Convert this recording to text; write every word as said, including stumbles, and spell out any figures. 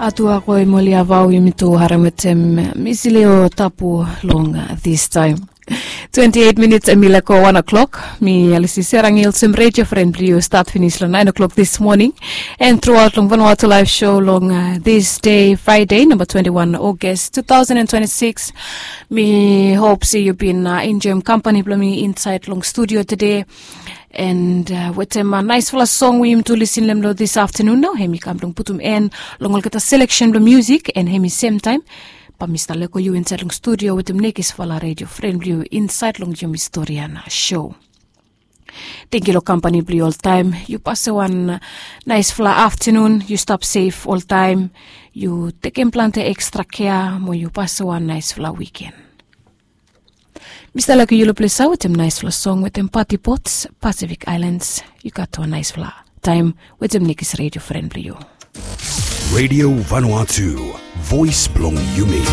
Atu ako em oli avau yumi tu harem wetem misili o tapu long this time. Twenty eight minutes em i leko one o'clock. Mi Alisi Serangil sem radio friend blong yu start finish long nine o'clock this morning. And throughout long Vanuatu live show long uh, this day Friday number twenty one August two thousand and twenty six. Mi hope se yu bin uh, enjoy company blong mi inside long studio today. And uh, wetem uh, nice fala song we yumi tu listen lem lo this afternoon now. Hemi kam long putum en long olgeta selection blong music and hemi same time. Ba mi stap leko yu inside long studio wetem nekis fala radio friend blong yu inside long yumi story and uh, show. Thank you lo company blong yu all time. You pass one uh, nice fala afternoon. You stop safe all time. You take in plant extra care. Mo you pass one nice fala weekend. Mista Lucky Yellow Place out him nice flow song with him party pots, Pacific Islands. You got to a nice flow time with him Nikki's radio friend blong yu. Radio Vanuatu, voice blong yumi.